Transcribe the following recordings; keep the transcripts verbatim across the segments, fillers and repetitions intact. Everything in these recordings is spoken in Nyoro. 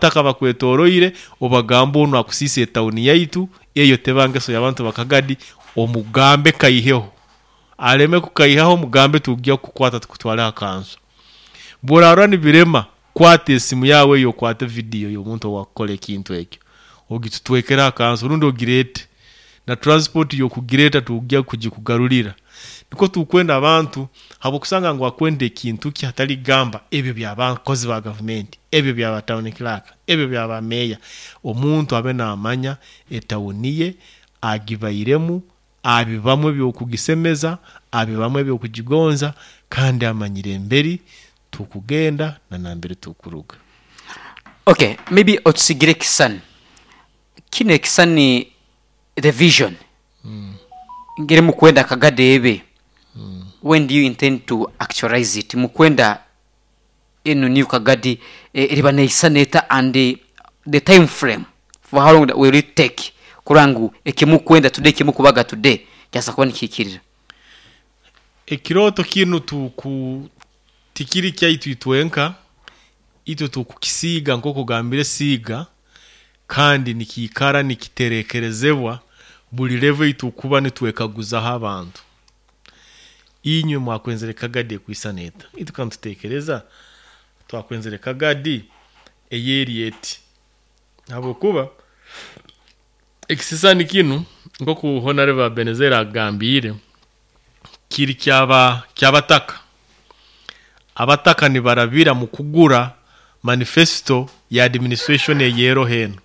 Abataka bakwetoroire, obagamba onu akusiisa etawuni yaitu. Eyo teba ngeso y'abantu bakagadi. Omugambe kaiheho, aleme kukaihaho, mugambe tujja kukwata tukutwale aha kanso. Bworarora nibirema, kwata esimu yawe eyo, okwate video y'omuntu owakukora ekintu ekyo, ogitutwekere aha kanso rundi ogireete na transport y'okugireeta, tujja kugikugarurira. Nikwo tukwenda abantu, habwokusanga ngu akwenda ekintu kye, hatali kugamba ebyo by'abakozi ba gavumenti, ebyo byaba town clerk, ebyo byaba meeya. Omuntu abe naamanya etawuni ye agibairemu, abibamu ebyokugisemeza, abibamu ebyokugigonza, kandi amanyire emberi tukugenda na nambere tukuruga. Okay, maybe otusigire ekisani kinu, ekisani, the vision ngeri mukwenda Kagadi ebe. When do you intend to actualize it? Mukwenda enu new Kagadi eh, eriba neisana eta, and the, the time frame, for how long will it take kurora ngu ekimukwenda today, ekimukubaga today kyasa kuba nikihikirira? Ekirooto kinu tuku tikiri kyaitu itwenka, itwe tukukisiiga nk'okugambire siiga, kandi nikiikara nikiterekerezebwa buli level eitukuba nitwekaguzaho abantu: inywe mwakwenzere Kagadi ekwisana eta? Itwe kantutekereza twakwenzere Kagadi eyeri eti, habwokuba ekisisani kinu, nkoku Honorable Benezera agambiire, kiri kyaba kyabataka. Abataka nibarabira mu kugura manifesto ya administration eyero heno.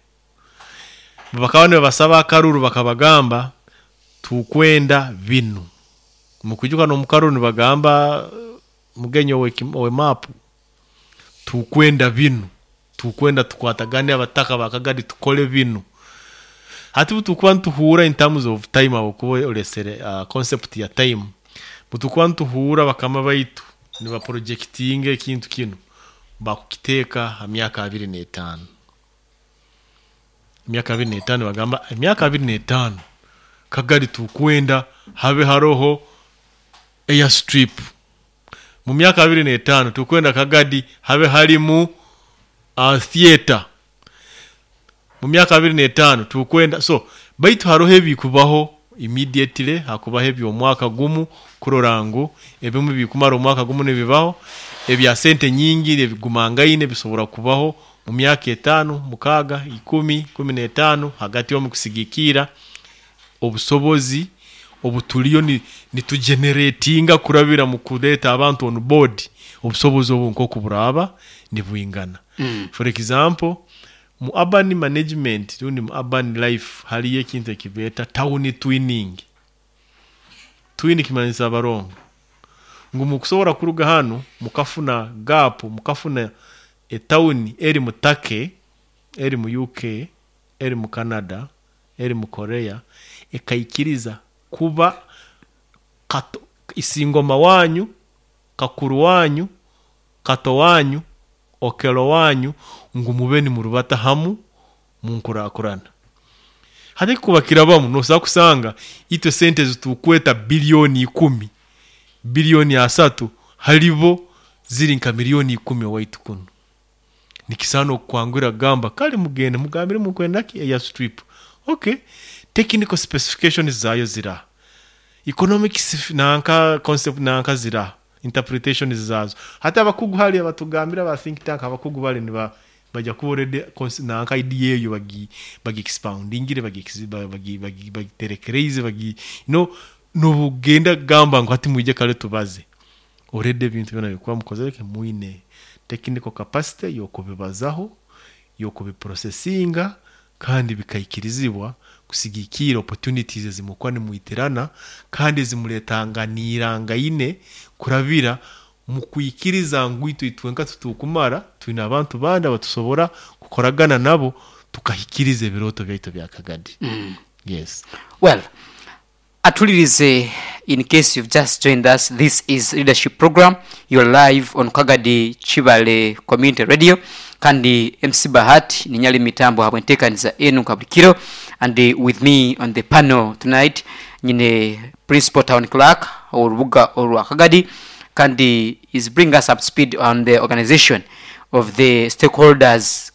Bakaba nibabasaba akaruru, bakabagamba tukwenda binu. Mukujuka n'omukaruru nibagamba mugenyi owe, owe mapu, tukwenda binu, tukwenda tukwatagane abataka bakagadi tukole binu. Hati butukuba nituhuura in terms of time, aho olesere uh, concept ya time, butukuba nituhuura bakama baitu nibaprojectinga ekintu kinu, bakukiteeka ha myaka abiri n'etaano. Emyaka abiri n'etaano, bagamba emyaka abiri n'etaano Kagari tukwenda habe haroho airstrip. Mu myaka abiri n'etaano tukwenda Kagadi habe harimu uh, theatre. Mu myaka abiri n'etaano tukwenda. So baitu haroho ebikubaho immediately, hakubaho eby'omwaka gumu, kurora ngu ebimu bikumara omwaka gumu nibibaho, ebya sente nyingi ebigumangaine bisobora kubaho mu myaka etaano, mukaaga, ikumi, kumi n'etaano, hagati omu kusigikira obusobozi obutuliyo ni, nitugeneratinga kurabira mu kuleeta abantu on board, obusobozi obu nk'oku buraaba nibwingana. mm. For example, mu urban management rundi mu urban life hariyo ekintu ekibeeta town twinning. Twin kimanyisa abarongo, ngu mukusobora kuruga hanu mukafuna gap, mukafuna etawuni eri mu Turkey, eri mu U K, eri mu Canada, eri mu Korea, ekaikiriza kuba kato, isingoma wanyu, kakuru wanyu, kato wanyu, okelo wanyu, ngu mube nimurubata hamu munkurakurana. Hati kuba kirabamu, nosobola kusanga itwe sente zitukweta biliyoni ikumi, biliyoni asatu, halibo ziri nka miliyoni ikumi owaitu kunu. Nikisaana okukwangura kugamba kale mugende mugambire mukwenda ki? Airstrip. Okay, technical specifications zayo zira, economic sif- nanka concept nanka zira, interpretations zazo. Hati abakugu hali abatugambira ba think tank, abakugu bali niba bajya kuba already cons- nanka idea eyo bagi bagi expoundingire, bagi bagi bagi bagiterekereze, bagi no nobugenda gamba ngu hati mwije kale tubaze. Already ebintu byona bikuba mukozere, mwine technical capacity yokubibazaho, yokubiprocessinga, kandi bikaikirizibwa kusigikira opportunities ezimukuba nimwitirana kandi ezimuletanganirangaine kurabira mu kwikiriza ngu itwe itwenka tutukumara, twine abantu bandi abatusobora kukoragana nabo tukahikiriza ebirooto byaitu bya Kagadi. Yes. Well, atulirize, in case you've just joined us, this is Leadership Program. You're live on Kagadi Kibale Community Radio, kandi M C Bahati ninyali mitambo habwentekaniza enu kabulikiro. And uh, with me on the panel tonight nyine principal town clerk orubuga orwa Kagadi, kandi is bring us up speed on the organization of the stakeholders.